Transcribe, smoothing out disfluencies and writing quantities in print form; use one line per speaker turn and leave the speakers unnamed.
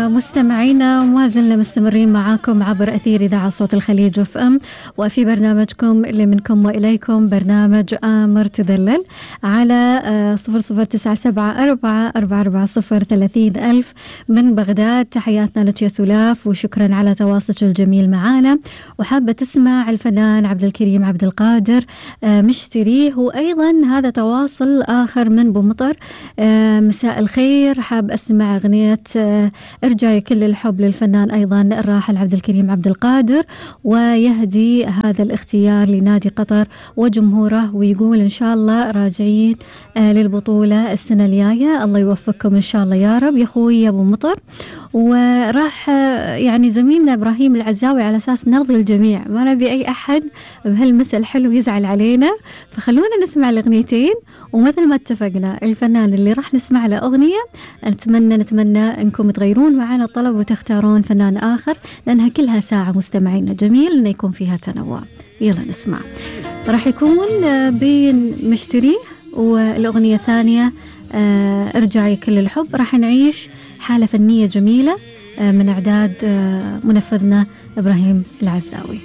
مستمعينا، وما زلنا مستمرين معاكم عبر أثير إذاعة صوت الخليج اف ام، وفي برنامجكم اللي منكم وإليكم برنامج آمر تدلل على 00974444030 من بغداد. تحياتنا لك يا سلاف، وشكرا على تواصلك الجميل معانا. وحابة تسمع الفنان عبد الكريم عبد القادر مشتريه، وأيضا هذا تواصل آخر من بومطر. مساء الخير، حاب أسمع أغنية ارجعي كل الحب للفنان أيضا الراحل عبد الكريم عبد القادر، ويهدي هذا الاختيار لنادي قطر وجمهوره، ويقول إن شاء الله راجعين للبطولة السنة الجاية، الله يوفقكم إن شاء الله يا رب يا أخوي يا أبو مطر. وراح يعني زميلنا إبراهيم العزاوي على أساس نرضي الجميع، ما نبي أي أحد بهالمسألة الحلو يزعل علينا، فخلونا نسمع الأغنيتين، ومثل ما اتفقنا الفنان اللي راح نسمع له أغنية نتمنى أنكم تغيرون معنا الطلب وتختارون فنان آخر، لأنها كلها ساعة مستمعينا، جميل أن يكون فيها تنوع. يلا نسمع، راح يكون بين مشتريه والأغنية الثانية ارجعي كل الحب. راح نعيش حالة فنية جميلة من إعداد منفذنا إبراهيم العزاوي.